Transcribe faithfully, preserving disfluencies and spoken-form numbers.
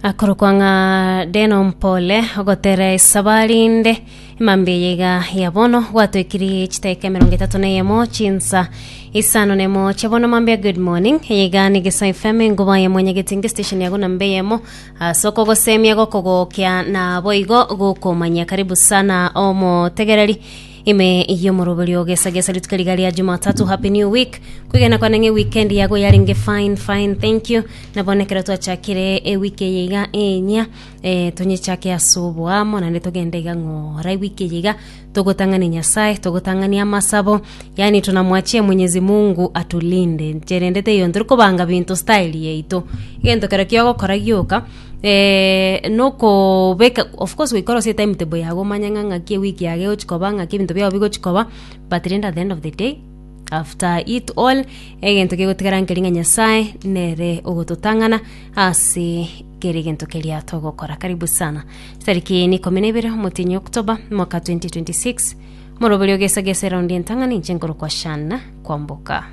Akorokwa ng'a Deno Mpole ogotera esabari inde emambia eye iga ya bono gwatoekirie chidakika emerongo etato na eyemo chinsa isano na emo chia bono mambia. Good morning, eye iga ni Gesa F M, enguba ya mwanyagetinge station yago namba eyemo ase okogosemia, gokogokia na boigo gokomanya. Karibu sana omotegereri ime y'omoroberio gesagesa rituko riga ria Jumatatu. Happy new week. Kwigena kwane ng'e weekend yago yarenge fine fine, thank you. Nabo nekero twachakire ewiki eye iga enya, eh, tonyechake ase oboamo naende togende iga ng'ora ewiki eye iga togotang'ania Nyasaye, togotang'ania amasabo, yani tunamwachia Mwenyezi Mungu atulinde. Ncherende teiyo ntori kobanga binto style yaito, egento kero kiogokora gioka eh, nokobeka. Of course goikora ase timetable yago, omanye ng'a ng'aki ewiki yago egochi koba, ng'aki ebinto biago bigochi koba, but rende at the end of the day, after it all, egento kegotigara nkeri ng'a Nyasaye nere ogototang'ana ase kere egento keria togokora. Karibu sana. Tariki ni ikomi na ibere omotinyi October mwaka twenty twenty-six, omoroberi ogesagesa eraundi entang'ani, inche nkorokwa Shana Kwamboka.